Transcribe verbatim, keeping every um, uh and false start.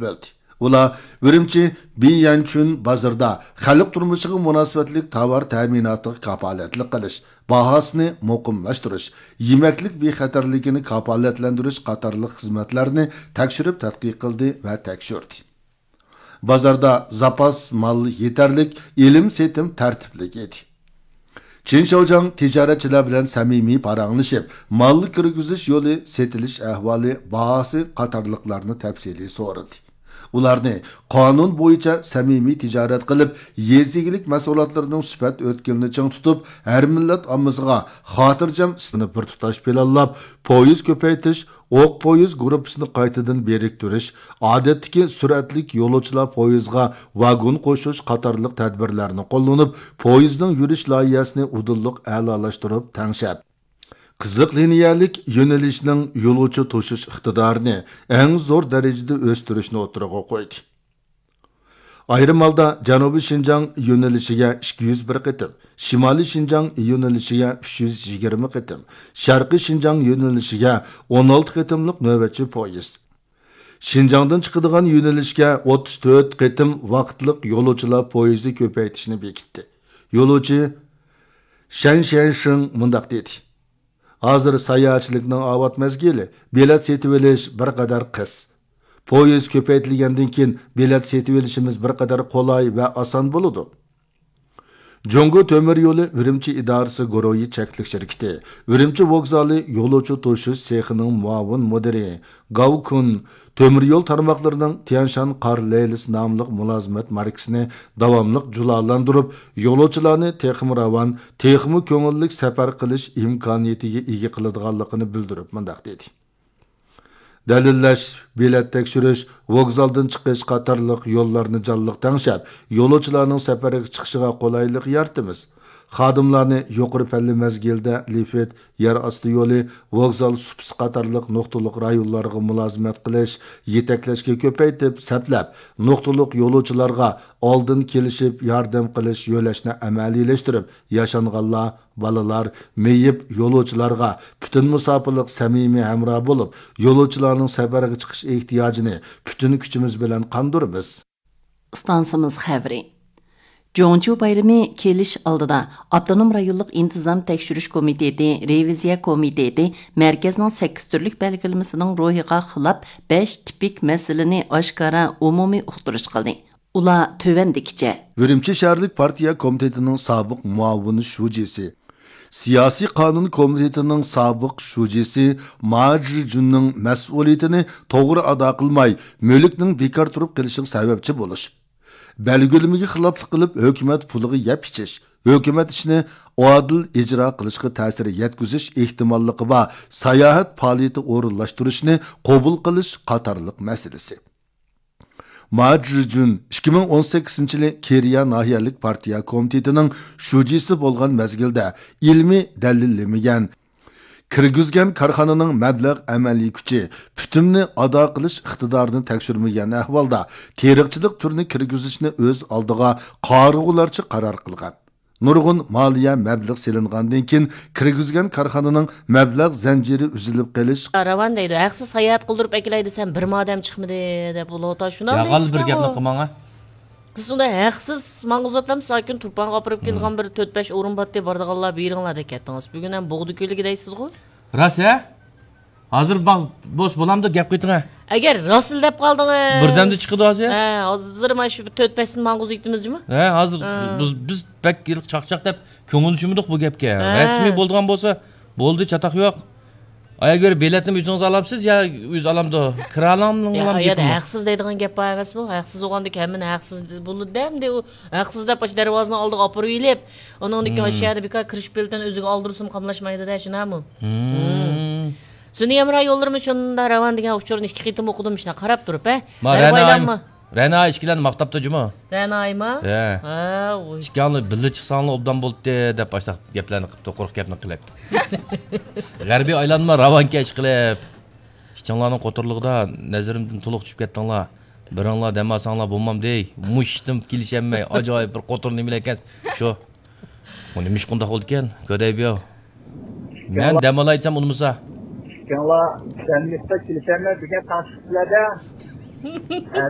بۆلدى. ئۇلار ئۈرۈمچى بىيەنچۈن بازىرىدا خەلق تۇرمۇشىغا مۇناسىۋەتلىك تاۋار تەمىناتىغا كاپالەتلىك قىلىش، باھاسىنى مۇقىملاشتۇرۇش، يېمەكلىك بىخەتەرلىكىنى كاپالەتلەندۈرۈش قاتارلىق خىزمەتلەرنى تەكشۈرۈپ تەتقىق قىلدى ۋە تەكشۈردى. بازاردا زاپاس مال يېتەرلىك، ئېلىم سېتىم تەرتىپلىك ئىدى. چېن شياۋجياڭ تىجارەتچىلەر بىلەن سەمىمىي پاراڭلىشىپ، مال كىرگۈزۈش يولى، سېتىلىش ئەھۋالى، باھاسى قاتارلىقلارنى تەپسىلىي سورىدى. ئۇلارنى قانۇن بويىچە سەمىمىي تىجارەت قىلىپ، يېزا ئىگىلىك مەھسۇلاتلىرىنىڭ سۈپەت ئۆتكىلىنى چىڭ تۇتۇپ، ھەر مىللەت ئاممىسىغا خاتىرجەم ئىستىنى بىر تۇتاش پىلانلاپ، پويىز كۆپەيتىش، ئوق پويىز گۇرۇپپىسىنى قايتىدىن بىرىكتۈرۈش، ئادەتتىكى سۈرئەتلىك يولۇچىلار پويىزىغا ۋاگون قوشۇش قاتارلىق تەدبىرلەرنى قوللىنىپ، پويىزنىڭ يۈرۈش لايىھەسىنى ئۇدۇللۇق ئەلالاشتۇرۇپ تەڭشەپ، قىزىق لىنىيەلىك يۆنىلىشنىڭ يولۇچى توشۇش ئىقتىدارىنى ئەڭ زور دەرىجىدە ئۆستۈرۈشنى ئوتتۇرىغا قويدى. ئايرىم ھالدا جەنۇبىي شىنجاڭ يۆنىلىشىگە ئىككى يۈز بىر قېتىم، شىمالىي شىنجاڭ يۆنىلىشىگە ئۈچ يۈز يىگىرمە قېتىم، شەرقىي شىنجاڭ يۆنىلىشىگە ئون ئالتە قېتىملىق نۆۋەتچى پويىز، شىنجاڭدىن چىقىدىغان يۆنىلىشكە ئوتتۇز تۆت قېتىم ۋاقىتلىق يولۇچىلار پويىزى كۆپەيتىشنى بېكىتتى. يولۇچى شەن شيەنشىڭ مۇنداق دېدى: ھازىر ساياھەتچىلىكنىڭ ئاۋات مەزگىلى، بېلەت سېتىۋېلىش بىر قەدەر قىس. پويىز كۆپەيتىلگەندىن كېيىن، بېلەت سېتىۋېلىشىمىز بىر قەدەر قولاي ۋە ئاسان بولىدۇ. جۇڭگو تۆمۈر يولى ئۈرۈمچى ئىدارىسى گۇرۇھى چەكلىك شىركىتى ئۈرۈمچى ۋوگزالى يولۇچى توشۇش سېخىنىڭ مۇئاۋىن مۇدىرى گاۋ كۇن تۆمۈر يول تارماقلىرىنىڭ تيەنشان قار لەيلىسى ناملىق مۇلازىمەت ماركىسىنى داۋاملىق جۇلالاندۇرۇپ، يولۇچىلارنى تېخىمۇ راۋان، تېخىمۇ كۆڭۈللۈك سەپەر قىلىش ئىمكانىيىتىگە ئىگە قىلىدىغانلىقىنى بىلدۈرۈپ مۇنداق دېدى: دەلىللەش، بېلەت تەكشۈرۈش، ۋوگزالدىن چىقىش قاتارلىق يوللارنى جانلىق تەڭشەپ، يولۇچىلارنىڭ سەپەرگە چىقىشىغا قولايلىق يارىتىمىز. خادىملارنى يۇقىرى پەللە مەزگىلدە لىفت، يەر ئاستى يولى، ۋوگزال سۇپىسى قاتارلىق نۇقتىلىق رايونلارغا مۇلازىمەت قىلىش، يېتەكلەشكە كۆپەيتىپ سەپلەپ، نۇقتىلىق يولۇچىلارغا ئالدىن كېلىشىپ ياردەم قىلىش، يۆلەشنى ئەمەلىيلەشتۈرۈپ، ياشانغانلار، بالىلار، مېيىپ يولۇچىلارغا پۈتۈن مۇساپىلىق سەمىمىي ھەمراھ بولۇپ، يولۇچىلارنىڭ سەپەرگە چىقىش ئېھتىياجىنى پۈتۈن كۈچىمىز بىلەن قاندۇرىمىز. ئىستانسىمىز خەۋىرى. جۇڭچۇ بايرىمى كېلىش ئالدىدا، ئاپتونوم رايونلۇق ئىنتىزام تەكشۈرۈش كومىتېتى، رېۋىزىيە كومىتېتى مەركەزنىڭ سەككىز تۈرلۈك بەلگىلىمىسىنىڭ روھىغا خىلاپ بەش تىپىك مەسىلىنى ئاشكارا ئومۇمىي ئۇقتۇرۇش قىلدى. ئۇلار تۆۋەندىكىچە. ئۈرۈمچى شەھەرلىك پارتىيە كومىتېتىنىڭ سابىق مۇئاۋىن شۇجىسى، سىياسىي قانۇن كومىتېتىنىڭ سابىق شۇجىسى ما جىجۈننىڭ مەسئۇلىيىتىنى توغرا ئادا قىلماي، مۈلۈكنىڭ بىكار تۇرۇپ قېلىشىغا سەۋەبچى بولۇش، بەلگىلىمىگە خىلاپلىق قىلىپ، ھۆكۈمەت پۇلىغا يەپ ئىچىش، ھۆكۈمەت ئىشىنى ئادىل ئىجرا قىلىشقا تەسىر يەتكۈزۈش ئېھتىماللىقى بار ساياھەت پائالىيىتى ئورۇنلاشتۇرۇشنى قوبۇل قىلىش قاتارلىق مەسىلىسى. ما جىجۈن ئىككى مىڭ ئون سەككىزىنچى يىلى كېرىيە ناھىيەلىك پارتىيە كومىتېتىنىڭ شۇجىسى بولغان مەزگىلدە ئىلمىي دەلىللىمىگەن، كىرگۈزگەن كارخانىنىڭ مەبلەغ ئەمەلىي كۈچى، پۈتۈمنى ئادا قىلىش ئىقتىدارىنى تەكشۈرمىگەن ئەھۋالدا، تېرىقچىلىق تۈرىنى كىرگۈزۈشنى ئۆز ئالدىغا قارىغۇلارچە قارار قىلغان. نۇرغۇن مالىيە مەبلەغ سېلىنغاندىن كېيىن، كىرگۈزگەن كارخانىنىڭ مەبلەغ زەنجىرى ئۈزۈلۈپ قېلىش. راۋان دەيدۇ، ھەقسىز ساياھەت قىلدۇرۇپ ئەكېلەي دېسەم، بىرمۇ ئادەم چىقمىدى دەپ، ئۇلار شۇنداق ياغال بىر دەيسىكەن گەپنى ئۇ. قىلماڭا. سىز ئۇنداق ھەقسىز ماڭغۇزۇۋاتامسىز، ئاكىنى تۇرپانغا ئاپىرىپ كېلىدىغان بىر تۆت بەش ئورۇن بارتتى، بارىدىغانلار بېرىڭلار دەپ كەتتىڭىز. بۈگۈن ھەم بوغدا كۆلىگە دەيسىزغۇ؟ راست ھە؟ ھازىر باق، بوس بولامدۇ گەپ قىلىۋېتىڭە. ئەگەر راستلا دەپ قالدىڭىز. بىردەمدە چىقىدۇ ھازىر. ھە، ھازىر مانا شۇ بىر تۆت بەشتىن ماڭغۇزۇپ ئېيتىمىز جۇمۇ. ھە، ھازىر ھە. بىز، بىز بەك ھېلىقى چاقچاق دەپ كۆڭۈل چۈشمىدۇق بۇ گەپكە. ھە. رەسمىي بولىدىغان بولسا بولدى، چاتاق يوق. ئايا گۆرە بېلەتنىمۇ ئۆزىڭىز ئالامسىز يا ئۆزى ئالامدۇ؟ كىرا ئالامدۇ؟ يا، ئۇ يەردە ھەقسىز دەيدىغان گەپ بار ئەمەسمۇ؟ ھەقسىز بولغاندىكىن ھەممىنى ھەقسىز بولىدۇ دە، ئەمدى ئۇ ھەقسىز دەپ ئاشۇ دەرۋازىنىڭ ئالدىغا ئاپىرىۋېلىپ، ئۇنىڭدىن كېيىن ئاشۇ يەردە بىكار كىرىش بېلىتىنى ئۆزىگە ئالدۇرسىمۇ قاملاشمايدۇ دە، شۇنداقمۇ؟ سۈنئىي ھەمراھ يوللىرىمۇ شۇنداق راۋان دېگەن ئۇچۇرنى ئىككى قېتىم ئوقۇدۇم، شۇنداق قاراپ تۇرۇپ، ھە. ما، غەربىي رەنا ئايلانما. رەنا ئىككىلەن ماختاپتۇ جۇمۇ. رەنا ئايما؟ ھە. ھە، ئۇ. ئىككىڭلار بىللە چىقساڭلار ئوبدان بولاتتى دەپ ئاشۇنداق گەپلەرنى قىپتۇ، قۇرۇق گەپنى قىلىپ. غەربىي ئايلانما راۋانكەش قىلىپ. ئىككىڭلارنىڭ قوتۇرلۇقىدا نەزىرىمدىن تولۇق چۈشۈپ كەتتىڭلار. بىرىڭلار دەم ئالساڭلار بولمامدۇ؟ مۇشتىم كېلىشەلمەي، ئاجايىپ بىر قوتۇر نېمىلەر ئىكەن. شۇ. ئۇ نېمە ئىش قۇنداق بولىدىكەن؟ كۆدەي بىياۋ. مەن دەم ئالاي دېسەم ئۇنىمىسا. ئىككىڭلار سەممىتقا كېلىشەلمەي بۈگۈن تاڭ چىقىپسىلەردە. ھە،